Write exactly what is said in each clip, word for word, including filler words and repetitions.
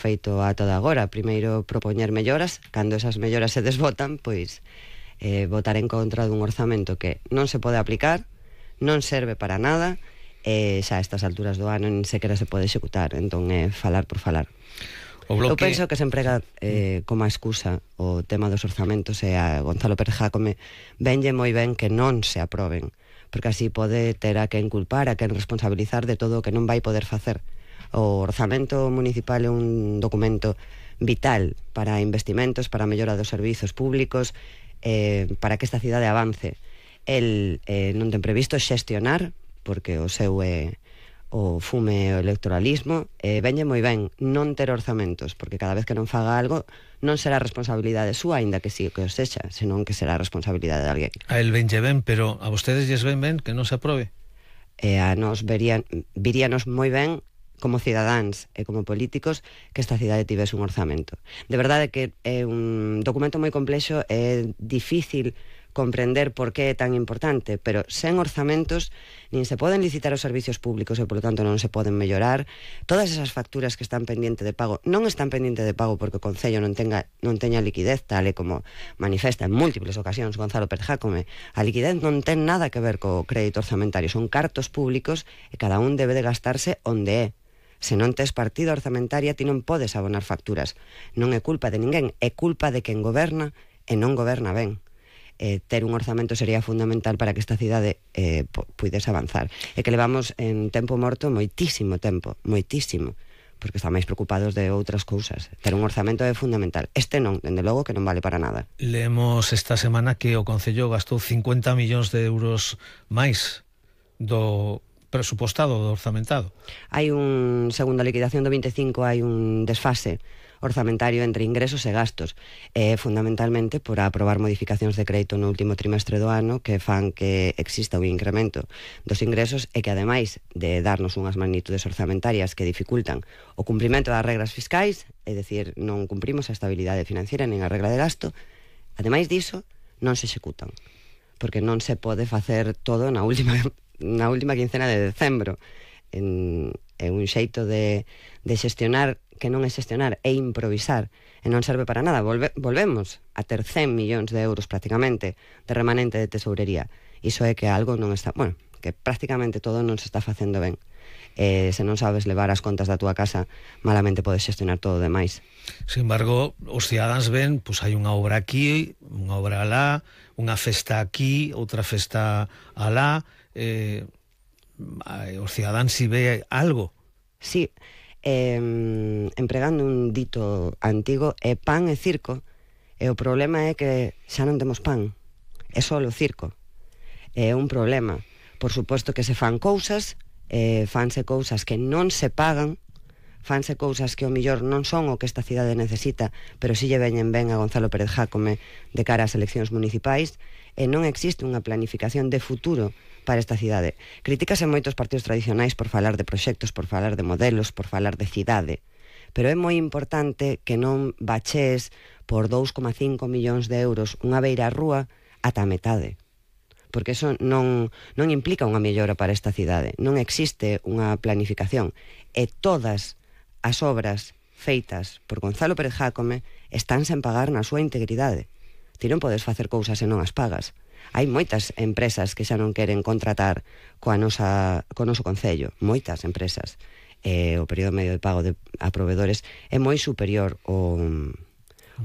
feito a toda agora. Primeiro propoñer melloras, cando esas melloras se desbotan, pois eh, votar en contra dun orzamento que non se pode aplicar, non serve para nada, e xa a estas alturas do ano nin sequera se pode executar. Entón é falar por falar. Bloque... Eu penso que se emprega eh, como a excusa o tema dos orzamentos, e a Gonzalo Pérez Jácome venlle moi ben que non se aproben, porque así pode ter a quen culpar, a quen responsabilizar de todo o que non vai poder facer. O orzamento municipal é un documento vital para investimentos, para a mellora dos servizos públicos, eh, para que esta cidade avance. El eh, non ten previsto xestionar, porque o seu é o fume o electoralismo, e eh, venlle moi ben non ter orzamentos, porque cada vez que non faga algo non será responsabilidade súa, aínda que sí que o sexa, senón que será responsabilidade de alguén. A el venlle ben, pero a vostedes lles ven ben que non se aprobe? E a nos verían, viríanos moi ben como cidadáns e como políticos que esta cidade tivese un orzamento. De verdade que é un documento moi complexo, é difícil comprender por que é tan importante, pero sen orzamentos nin se poden licitar os servicios públicos e, polo tanto, non se poden mellorar. Todas esas facturas que están pendiente de pago non están pendiente de pago porque o Concello non tenga non teña liquidez, tal e como manifesta en múltiples ocasións Gonzalo Pérez Jácome. A liquidez non ten nada que ver co crédito orzamentario, son cartos públicos e cada un debe de gastarse onde é. Se non tes partida orzamentaria, ti non podes abonar facturas. Non é culpa de ninguén, é culpa de quen goberna e non goberna ben. Eh, ter un orzamento sería fundamental para que esta cidade eh, puidese avanzar. E que levamos en tempo morto moitísimo tempo, moitísimo, porque están máis preocupados de outras cousas. Ter un orzamento é fundamental. Este non, dende logo que non vale para nada. Leemos esta semana que o Concello gastou cincuenta millóns de euros máis do presupostado, do orzamentado. Hai un, segundo a liquidación do vinte e cinco, hai un desfase orzamentario entre ingresos e gastos, e fundamentalmente por aprobar modificacións de crédito no último trimestre do ano que fan que exista un incremento dos ingresos e que, ademais de darnos unhas magnitudes orzamentarias que dificultan o cumprimento das regras fiscais, é dicir, non cumprimos a estabilidade financiera nin a regla de gasto, ademais diso, non se executan, porque non se pode facer todo na última na última quincena de decembro. En, é un xeito de, de xestionar que non é xestionar, é improvisar, e non serve para nada. Volve, volvemos a ter cen millóns de euros prácticamente de remanente de tesourería. Iso é que algo non está, bueno, que prácticamente todo non se está facendo ben. E se non sabes levar as contas da túa casa, malamente podes xestionar todo o demais. Sin embargo, os cidadáns ven, pois hai unha obra aquí, unha obra alá, unha festa aquí, outra festa alá. Eh, os cidadáns si ve algo. Sí, eh, empregando un dito antigo, é pan e circo, e o problema é que xa non temos pan, é só o circo. É un problema. Por suposto que se fan cousas, eh, fanse cousas que non se pagan, fanse cousas que o millor non son o que esta cidade necesita, pero si lle veñen ben a Gonzalo Pérez Jácome de cara ás eleccións municipais, e non existe unha planificación de futuro para esta cidade. Critícase moitos partidos tradicionais por falar de proxectos, por falar de modelos, por falar de cidade, pero é moi importante que non bachees por dous coma cinco millóns de euros unha beira rúa ata a metade, porque eso non, non implica unha mellora para esta cidade. Non existe unha planificación, e todas as obras feitas por Gonzalo Pérez Jácome están sen pagar na súa integridade. Ti non podes facer cousas e non as pagas. Hai moitas empresas que xa non queren contratar coa nosa, co noso Concello, moitas empresas. Eh, o período medio de pago de, a proveedores é moi superior ao,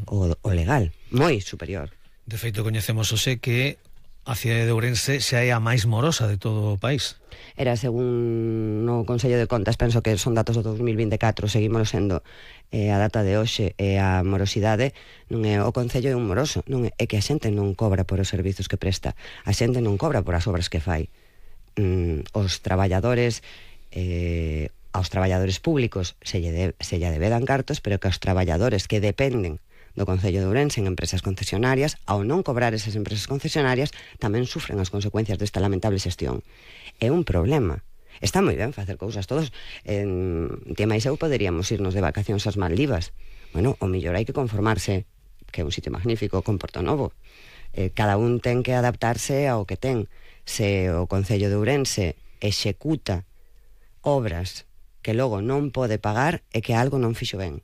ao, ao legal, moi superior. De feito, coñecemos hoxe que a cidade de Ourense xa é a máis morosa de todo o país. Era, según no Consello de Contas, penso que son datos do dos mil vinte e catro, seguimos sendo eh, a data de hoxe, e a morosidade non é o Concello é un moroso, non é, é que a xente non cobra por os servizos que presta, a xente non cobra por as obras que fai. Mm, os traballadores eh, aos traballadores públicos se lle, de, se lle debedan cartos, pero que aos traballadores que dependen do Concello de Ourense en empresas concesionarias, ao non cobrar esas empresas concesionarias, tamén sufren as consecuencias desta lamentable xestión. É un problema. Está moi ben facer cousas todos. En Tía máis eu poderíamos irnos de vacacións ás Maldivas. Bueno, o mellor hai que conformarse, que é un sitio magnífico, con Porto Novo. Eh, cada un ten que adaptarse ao que ten. Se o Concello de Ourense executa obras que logo non pode pagar, é que algo non fixo ben.